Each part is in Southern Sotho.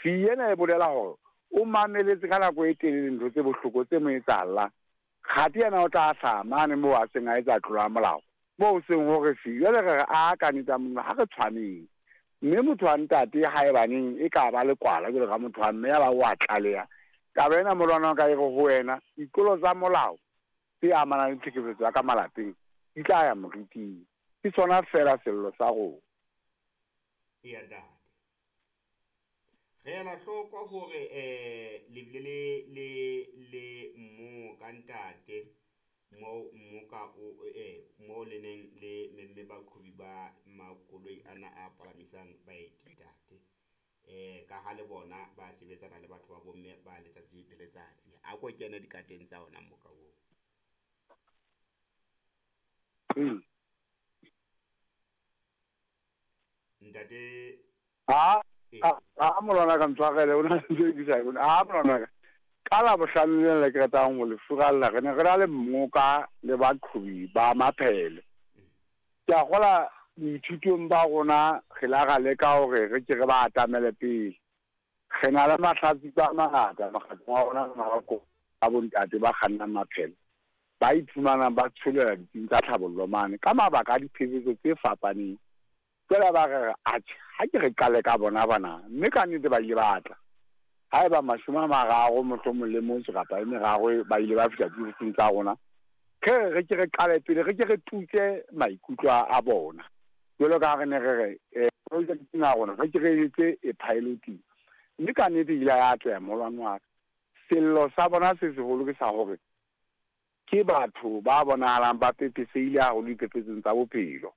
Fee ena e bolela hore o mameletse ka nako e telele ntho tse bohloko tse mo etsahallang. Kgati yena o tla hlaha mane moo a seng a etsa tlolo ya molao, moo ho seng ho re fee. Jwale re re a ka nnete ya Modimo ha re tshwaneng. Mme motho wa ntate haebaneng e ka ba lekwala jwalo ka motho wa mme ya ba o a tlaleha. Taba ena molwana wa ka e re ho wena, ditlolo tsa molao tse amanang le tlhekefetso ya ka malapeng di tla ya moriting. Ke sona feela sello sa rona. Eya ntate. Re ela hloko hore um le bile le le le mmoka ntate moo mmoka o moo le neng le memme baqhobi ba makoloi ana a palamisang baeti ntate. Ka ha le bona ba sebetsana le batho ba bomme ba letsatsi le letsatsi. A ko kene dikateng tsa ona mmoka oo. Ntate A a molwana ka ntshwarele o na le ntho e ke sa e bone. A molwana ka ka Labohlano lena le ke ratang ho le furalla re ne re na le mmoka le baqhobi ba maphele. Ke a kgola boithutong ba rona re la ra leka hore re ke re ba atamele pele. Re na le mahlatsipa a mangata mokgatlong wa rona wa a bontate ba kgannang maphele ba iphumanang ba tsholela ditsing tsa tlhabollo mane ka mabaka a diphephetso tse fapaneng. Jwale ba re re, Atjhe, ha ke re qale ka bona bana. Mme ka nnete ba ile ba tla. Haeba 30 mohlomong le motso kapa e meraro ba ile ba fihla diofising tsa rona, re re re ke re qale pele, re ke re tutse maikutlo a bona. Jwalo ka ha re ne re re, projekteng ya rona, re ke re etse e piloting. Mme ka nnete e ile ya atleha moholwane wa ka. Sello sa bona se seholo ke sa hore ke batho ba bonahalang ba pepesehile haholo diphephetsong tsa bophelo,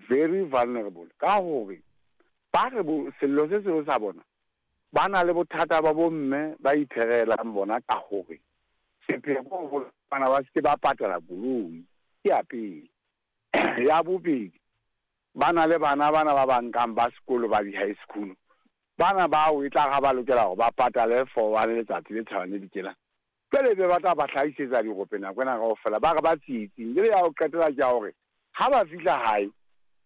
very vulnerable, ka hore ba re sello se seholo sa bona ba na le bothata ba bomme ba itherelang bona ka hore sepheo ke hore bana ba se ke ba patala koloi, ke ya pele. Ya bobedi, ba na le bana bana ba ba nkang ba sekolo ba di-high school, bana bao e tla ga ba lokela hore ba patale for one letsatsi le tjhabang le dikelang. Jwale ebe ba tla ba hlahisetsa dirope nako ena kaofela, ba re ba tsietsing. Jwale ya ho qetela ke ya hore ha ba fihla hae,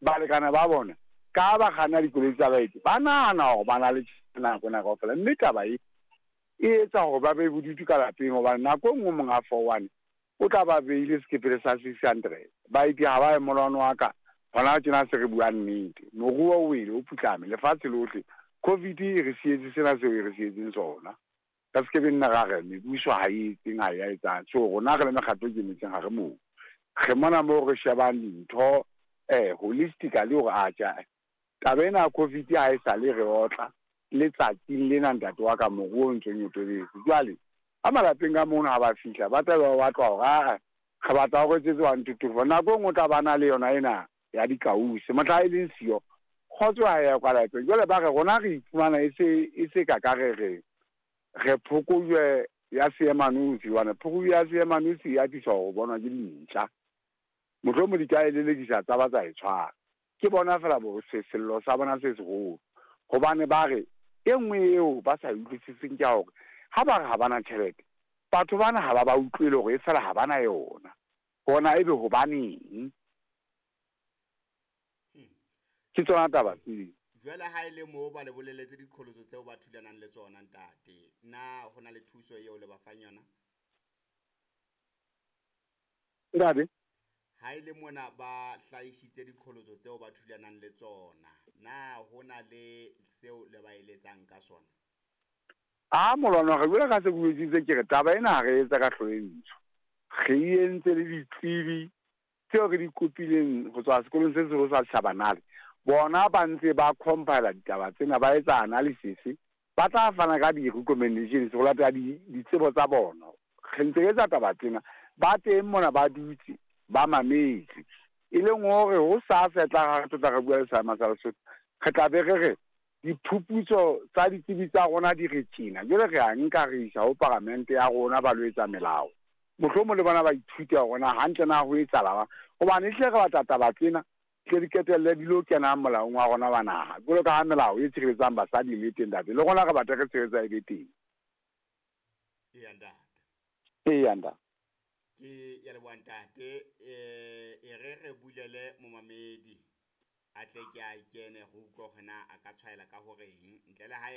balekane ba bona ka ha ba kganna dikoloi tsa baeti, ba nahana hore ba na le tjhelete nako ena kaofela. Mme taba e e etsa hore ba be bodutu ka lapeng hobane nako e nngwe monga 41 o tla ba beile sekepele sa 600. Baeti ha ba ye molwane wa ka, hona tjena se re bua nnete. Moruo o wele, o putlame, lefatshe lohle. Covid e re sietse sena seo e re sietseng sona. Re se ke be nna ra re mebuso ha e etseng ha e a etsang. So rona re le mekgatlo e ikemetseng ha re moo. Re mona moo re shebang dintho holistically hore atjhe taba ena ya Covid ha e sale re otla letsatsing lena ntate wa ka moruo o ntso nyotobetse. Jwale ka malapeng ka mono ha ba fihla ba tla be ba batlwa hore aa re batla ho re etsetse 1 2 3 4. Nako e nngwe o tla ba na le yona ena ya dikausi mohla e leng siyo kgotso ha e ya kwa lapeng. Jwale ba re rona re iphumana e se e se ka ka re re re phokojwe ya seemanosi, hobane phokojwe ya seemanosi e atisa ho bonwa ke dintja. Mohlomong di ka e lelekisa tsa ba tsa e tshwara. Ke bona feela bo se sello sa bona se seholo. Hobane ba re e nngwe eo ba sa e utlwisiseng ke ya hore ha ba re ha ba na tjhelete, batho bana ha ba ba utlwele hore e fela ha ba na yona. Hona ebe hobaneng? Ke tsona taba tseo. Jwale ha e le moo ba le boleletse diqholotso tseo ba thulanang le tsona ntate, na ho na le thuso eo le ba fang yona? Ntate? Ha e le mona ba hlahisitse diqholotso tseo ba thulanang le tsona, na ho na le seo le ba eletsang ka sona? A molwana re jwale ka se ke ke re taba ena ha re etsa ka hloho e ntsho. Re e entse le ditsebi tseo re di kopileng ho tswa sekolong se seholo sa Shabanale. Bona ba ntse ba compile ditaba tsena, ba etsa analysis, ba tla fana ka di-recommendations ho latela ditsebo tsa bona. Re ntse re etsa taba tsena, ba teng mona ba dutse ba mametse. E leng hore ho sasa e tla re tla re bua le Seema sa Lesotho, re tla be re re diphuputso tsa ditsebi tsa rona di re tjena. Jwale re a nka re isa ho paramente ya rona ba lo etsa melao. Mohlomong le bona ba ithute hore na hantle na ho etsahala. Hobane ehlile re batla taba tsena tle di qetelle di lo kena molaong wa rona wa naha. Jwalo ka ha melao e tshireletsang basadi le teng ntate, le rona re batla re tshireletsa e be teng. Eya ntate. Eya ntate. Ke ya leboha ntate, e re re bulele momamedi a tle ke a kene re utlwe hore na a ka tshwaela ka horeng ntle le hae.